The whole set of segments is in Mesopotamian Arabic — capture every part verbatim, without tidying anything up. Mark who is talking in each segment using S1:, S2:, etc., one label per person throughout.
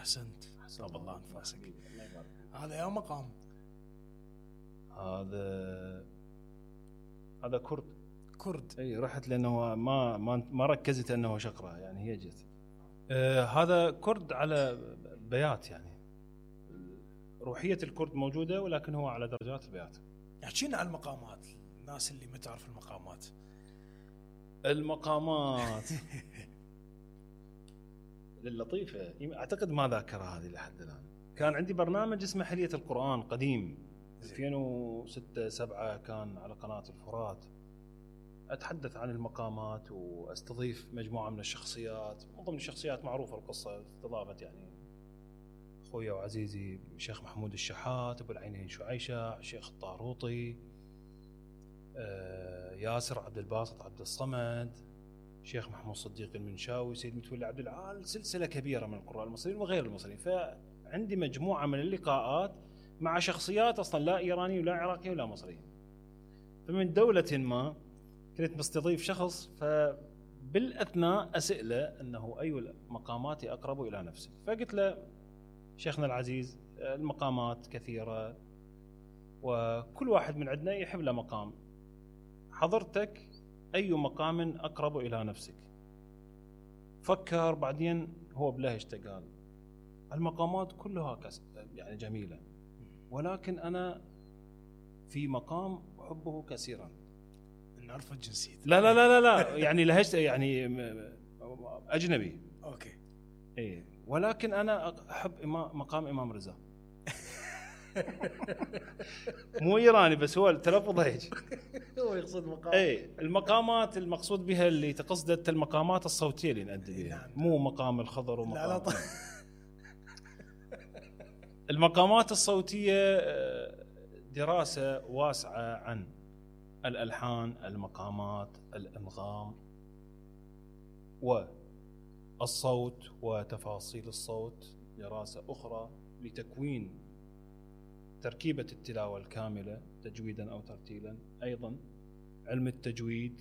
S1: احسنت طاب الله انفاسك.
S2: الله يبارك.
S1: هذا يا مقام
S2: هذا هذا كرد
S1: كرد.
S2: اي رحت لانه ما ما ما ركزت انه شقره يعني هي جت. آه هذا كرد على بيات يعني روحيه الكرد موجوده ولكن هو على درجات البيات.
S1: احكينا عن المقامات، الناس اللي ما تعرف المقامات.
S2: المقامات اللطيفه اعتقد ما ذاكرها هذه لحد الان. كان عندي برنامج اسمه حليه القران قديم ألفين وستة سبعة كان على قناه الفرات. اتحدث عن المقامات واستضيف مجموعه من الشخصيات، من ضمن الشخصيات معروفه القصه استضافت يعني اخويا وعزيزي الشيخ محمود الشحات، ابو العينين شعيشة، الشيخ الطاروطي، آه ياسر عبد الباسط عبد الصمد، الشيخ محمود صديق المنشاوي، سيد متولي عبد العال، سلسله كبيره من القراء المصريين وغير المصريين. فعندي مجموعه من اللقاءات مع شخصيات اصلا لا ايراني ولا عراقي ولا مصري. فمن دوله ما كنت مستضيف شخص، فبالاثناء اساله انه اي المقامات اقرب الى نفسك، فقلت له شيخنا العزيز المقامات كثيره وكل واحد من عندنا يحب له مقام، حضرتك اي مقام اقرب الى نفسك؟ فكر بعدين هو بلهجته قال المقامات كلها يعني جميله ولكن انا في مقام احبه كثيرا.
S1: نعرف الجنسية.
S2: لا لا لا لا لا يعني لهجته يعني اجنبي.
S1: اوكي.
S2: ايه ولكن انا احب مقام امام رضا. مو ايراني بس هو التلفظ هيك.
S1: هو يقصد مقام.
S2: ايه المقامات المقصود بها اللي تقصدت المقامات الصوتيه اللي نأدي بها. نعم. مو مقام الخضر ومقام
S1: لا لا طيب.
S2: المقامات الصوتيه دراسه واسعه عن الالحان، المقامات، الانغام والصوت وتفاصيل الصوت، دراسه اخرى لتكوين تركيبة التلاوة الكاملة تجويدا أو ترتيلا، أيضا علم التجويد،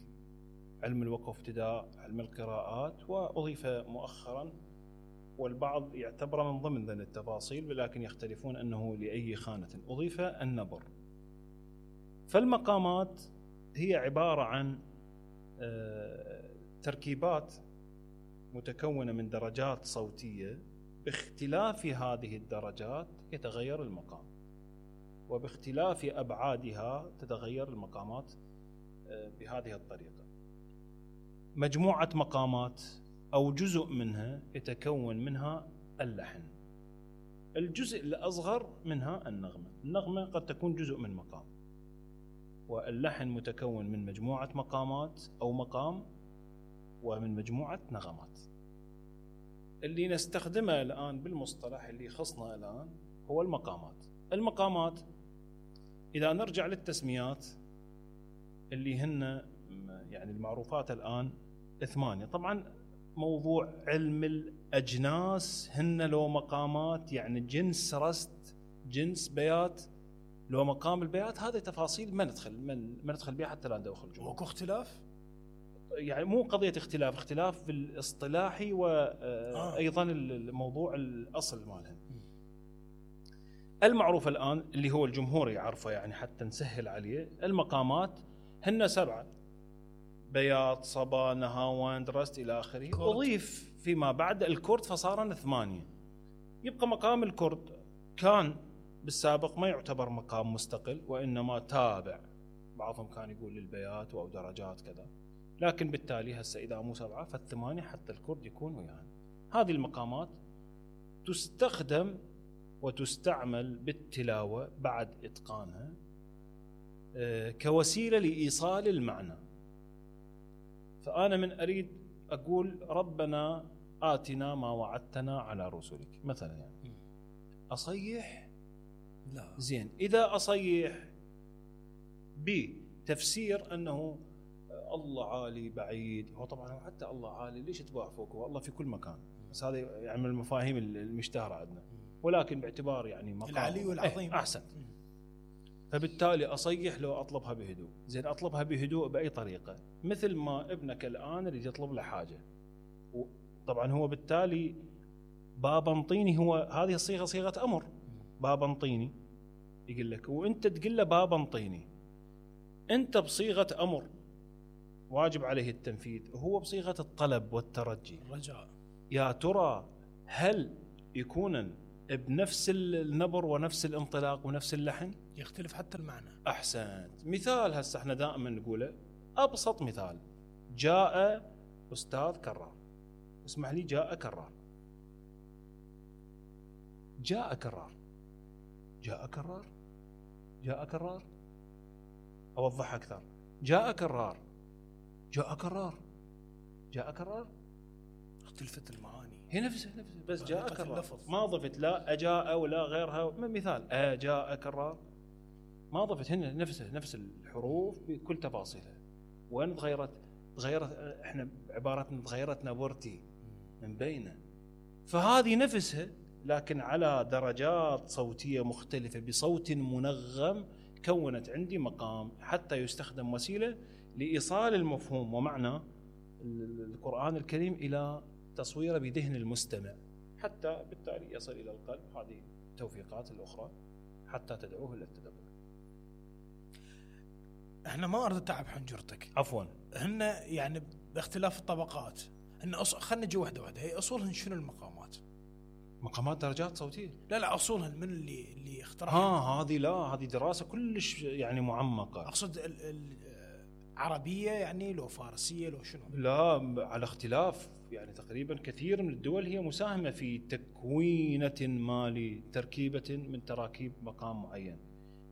S2: علم الوقف ابتداء، علم القراءات، وأضيف مؤخرا والبعض يعتبر من ضمن ذن التفاصيل ولكن يختلفون أنه لأي خانة أضيف النبر. فالمقامات هي عبارة عن تركيبات متكونة من درجات صوتية، باختلاف هذه الدرجات يتغير المقام، وباختلاف أبعادها تتغير المقامات بهذه الطريقة. مجموعة مقامات أو جزء منها يتكون منها اللحن، الجزء الأصغر منها النغمة. النغمة قد تكون جزء من مقام، واللحن متكون من مجموعة مقامات أو مقام ومن مجموعة نغمات. اللي نستخدمه الآن بالمصطلح اللي خصنا الآن هو المقامات. المقامات إذا نرجع للتسميات اللي هن يعني المعروفات الآن ثمانية. طبعا موضوع علم الأجناس هن لو مقامات يعني جنس رست، جنس بيات، لو مقام البيات، هذه تفاصيل ما ندخل ما ندخل بها حتى لا ندخل جوا.
S1: وكو اختلاف؟
S2: يعني مو قضية اختلاف، اختلاف بالاصطلاحي وأيضا الموضوع الأصل مالها. المعروف الآن اللي هو الجمهور يعرفه يعني حتى نسهل عليه، المقامات هن سبعة: بياض، صبا، نهاوند، رست إلى آخره. أضيف فيما بعد الكرد فصارن ثمانية. يبقى مقام الكرد كان بالسابق ما يعتبر مقام مستقل وإنما تابع، بعضهم كان يقول للبيات أو درجات كذا، لكن بالتالي هسه إذا مو سبعة فالثمانية حتى الكرد يكون وياها. هذه المقامات تستخدم وتستعمل بالتلاوة بعد إتقانها كوسيلة لإيصال المعنى. فأنا من أريد أقول ربنا آتنا ما وعدتنا على رسلك مثلا، يعني أصيح
S1: لا
S2: زين، إذا أصيح بتفسير أنه الله عالي بعيد، هو طبعا حتى الله عالي ليش تباع فوق، هو الله في كل مكان، بس هذا يعني من المفاهيم المشتهرة عندنا، ولكن باعتبار يعني مقام
S1: العلي والعظيم
S2: ايه أحسن. فبالتالي أصيح لو أطلبها بهدوء. زين أطلبها بهدوء بأي طريقة؟ مثل ما ابنك الآن يريد يطلب له حاجة، طبعا هو بالتالي بابا انطيني، هو هذه الصيغه صيغه امر، بابا انطيني يقول لك، وانت تقول له بابا انطيني، انت بصيغه امر واجب عليه التنفيذ، وهو بصيغه الطلب والترجي
S1: الرجاء.
S2: يا ترى هل يكون بنفس النبر ونفس الانطلاق ونفس اللحن؟
S1: يختلف حتى المعنى.
S2: احسنت. مثال هسه احنا دائما نقوله، ابسط مثال، جاء استاذ كرار، اسمح لي، جاء كرار، جاء كرار، جاء كرار، جاء كرار. اوضح اكثر، جاء كرار، جاء كرار، جاء كرار،
S1: اختلفت المعاني،
S2: هي نفسها نفسها بس جاء
S1: طريقة
S2: كرار،
S1: اللفظ.
S2: ما ضفت لا اجاء ولا غيرها. مثال اجاء كرار، ما ضفت، هنا نفسها نفس الحروف بكل تفاصيلها. وين تغيرت؟ تغيرت، احنا عبارتنا تغيرت نبرتي من بينه. فهذه نفسها لكن على درجات صوتيه مختلفه بصوت منغم، كونت عندي مقام حتى يستخدم وسيله لايصال المفهوم ومعنى القرآن الكريم الى تصويره بذهن المستمع، حتى بالتالي يصل الى القلب. هذه التوفيقات الاخرى حتى تدعوه الى التدبر.
S1: احنا ما اريد اتعب حنجرتك،
S2: عفوا.
S1: هن يعني باختلاف الطبقات، هن أص... خلينا نجي واحده واحده. هي اصولهن شنو المقامات؟
S2: مقامات درجات صوتيه.
S1: لا لا اصولهن من اللي اللي اخترعها؟
S2: ها هذه لا، هذه دراسه كلش يعني معمقه.
S1: اقصد ال... ال... عربيه يعني، لو فارسيه، لو شنو؟
S2: لا، على اختلاف، يعني تقريبا كثير من الدول هي مساهمه في تكوينه ما لتركيبه من تراكيب مقام معين،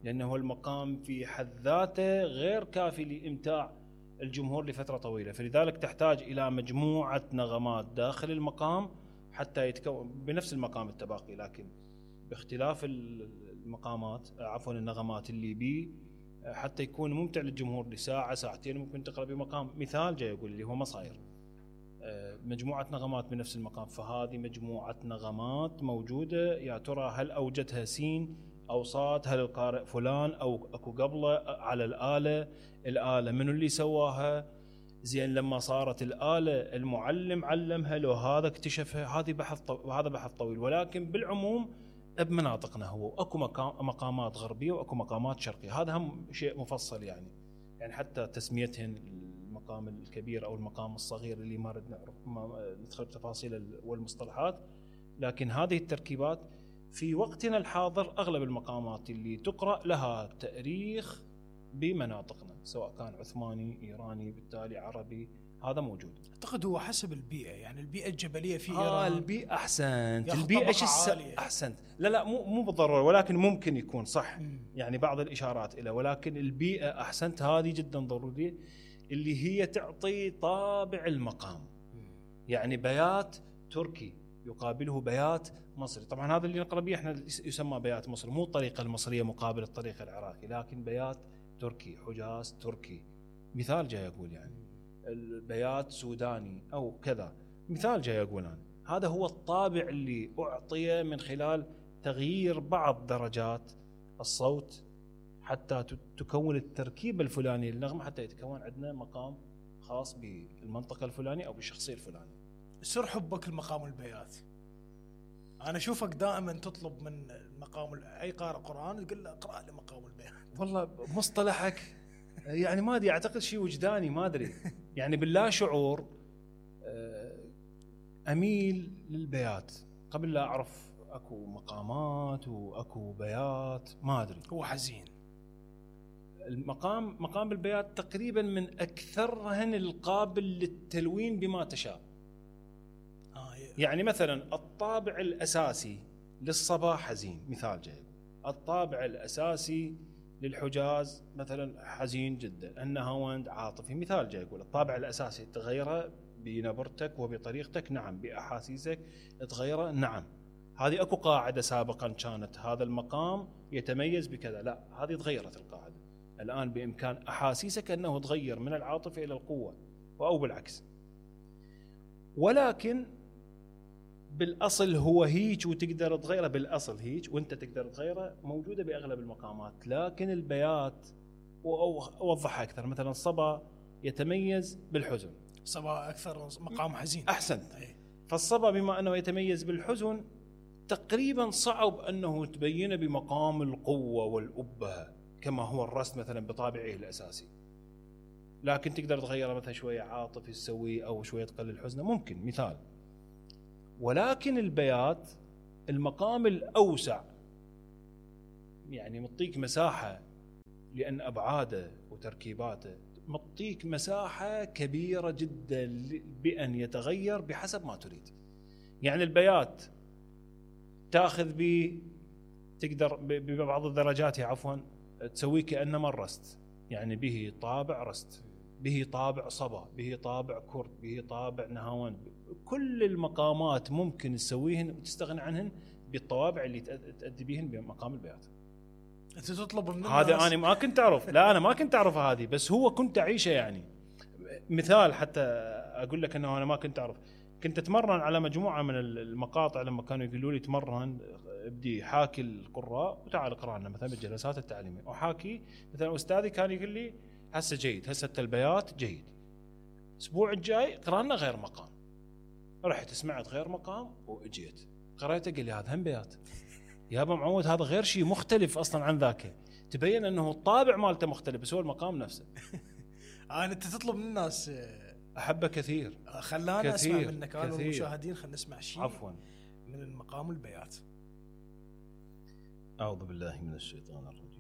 S2: لانه المقام في حد ذاته غير كافي لامتاع الجمهور لفتره طويله، فلذلك تحتاج الى مجموعه نغمات داخل المقام حتى يتكون بنفس المقام التباقي، لكن باختلاف المقامات، عفوا النغمات اللي بيه، حتى يكون ممتع للجمهور لساعه ساعتين ممكن تقرا بمقام. مثال جاي يقول اللي هو مصاير، مجموعه نغمات بنفس المقام، فهذه مجموعه نغمات موجوده، يا ترى هل اوجدها سين او صاد؟ هل القارئ فلان او اكو قبله على الاله؟ الاله منو اللي سواها؟ زين لما صارت الاله المعلم علمها لو هذا اكتشفها؟ هذه بحث طو... هذا بحث طويل، ولكن بالعموم بمناطقنا هو اكو مقام... مقامات غربيه واكو مقامات شرقيه، هذا هم شيء مفصل يعني، يعني حتى تسميتهن المقام الكبير او المقام الصغير اللي ما نريد نعرف ما ندخل بتفاصيل والمصطلحات، لكن هذه التركيبات في وقتنا الحاضر اغلب المقامات اللي تقرا لها تاريخ بمناطقنا، سواء كان عثماني، ايراني، بالتالي عربي، هذا موجود.
S1: اعتقد هو حسب البيئه، يعني البيئه الجبليه في
S2: آه
S1: ايران.
S2: البيئه احسنت، البيئه ايش الس... احسنت، لا لا مو مو بالضروره، ولكن ممكن يكون صح، م. يعني بعض الاشارات الى، ولكن البيئه احسنت هذه جدا ضروريه، اللي هي تعطي طابع المقام. م. يعني بيات تركي يقابله بيات مصري، طبعا هذا اللي نقرا به احنا يسمى بيات مصري، مو الطريقه المصريه مقابل الطريقه العراقي، لكن بيات تركي، حجاز تركي، مثال جاي اقول يعني البيات سوداني او كذا، مثال جاي اقول انا. هذا هو الطابع اللي اعطي من خلال تغيير بعض درجات الصوت حتى تكون التركيبه الفلانيه للنغمه، حتى يتكون عندنا مقام خاص بالمنطقه الفلانيه او بالشخصيه الفلانيه.
S1: سر حبك لمقام البيات، انا اشوفك دائما تطلب من مقام اي قارئ قران تقول له اقرا لي مقام البيات.
S2: والله مصطلحك يعني ما ادري، اعتقد شيء وجداني ما ادري، يعني باللا شعور اميل للبيات قبل لا اعرف اكو مقامات واكو بيات، ما ادري.
S1: هو حزين
S2: المقام مقام البيات تقريبا من اكثرهن القابل للتلوين بما تشاء.
S1: آه
S2: يعني مثلا الطابع الاساسي للصبا حزين، مثال جاي. الطابع الاساسي للحجاز مثلا حزين جدا، النهاوند عاطفي، مثال جاي يقول. الطابع الاساسي تغيره بنبرتك وبطريقتك، نعم. باحاسيسك تغيره، نعم. هذه اكو قاعده سابقا كانت هذا المقام يتميز بكذا، لا هذه تغيرت القاعده. الان بامكان احاسيسك انه تغير من العاطفه الى القوه او بالعكس، ولكن بالاصل هو هيك وتقدر تغيره، بالاصل هيك وانت تقدر تغيره، موجوده باغلب المقامات. لكن البيات اوضحها اكثر، مثلا الصبا يتميز بالحزن،
S1: صبا اكثر مقام حزين،
S2: احسنت. فالصبا بما أنه يتميز بالحزن تقريبا صعب أنه تبينه بمقام القوة والأبهة كما هو الرست مثلا بطابعه الأساسي، لكن تقدر تغيره مثلا شوية عاطفي تسويه أو شوية تقلل حزنه ممكن مثال. ولكن البيات المقام الأوسع يعني مطيك مساحة، لأن أبعاده وتركيباته مطيك مساحة كبيرة جدا بأن يتغير بحسب ما تريد. يعني البيات تأخذ ب تقدر ببعض الدرجات عفوا تسويه كأنما الرست، يعني به طابع رست، به طابع صبا، به طابع كرد، به طابع نهاوند. كل المقامات ممكن تسويهن وتستغني عنهن بالطوابع اللي تأدي بهن بمقام البيات.
S1: انت تطلب من
S2: هذا انا ما كنت اعرف، لا انا ما كنت اعرف هذه، بس هو كنت اعيشه. يعني مثال حتى اقول لك انه انا ما كنت اعرف، كنت اتمرن على مجموعه من المقاطع لما كانوا يقولوا لي تمرن ابدي حاكي القراء وتعال اقرا لنا مثلا بالجلسات التعليميه، وحاكي مثلا استاذي كان يقول لي هسه جيد، هسه البيات جيد، الاسبوع الجاي اقرا لنا غير مقام. رحت سمعت غير مقام واجيت قريته، قال لي هذا هم بيات يا ابو معود، هذا غير شيء مختلف اصلا عن ذاك. تبين انه الطابع مالته مختلف بس هو المقام نفسه.
S1: انا انت تطلب من الناس
S2: احبه كثير،
S1: خلانا اسمع منك انا والمشاهدين، خلينا نسمع شيء
S2: عفوا
S1: من المقام البيات.
S2: اعوذ بالله من الشيطان الرجيم.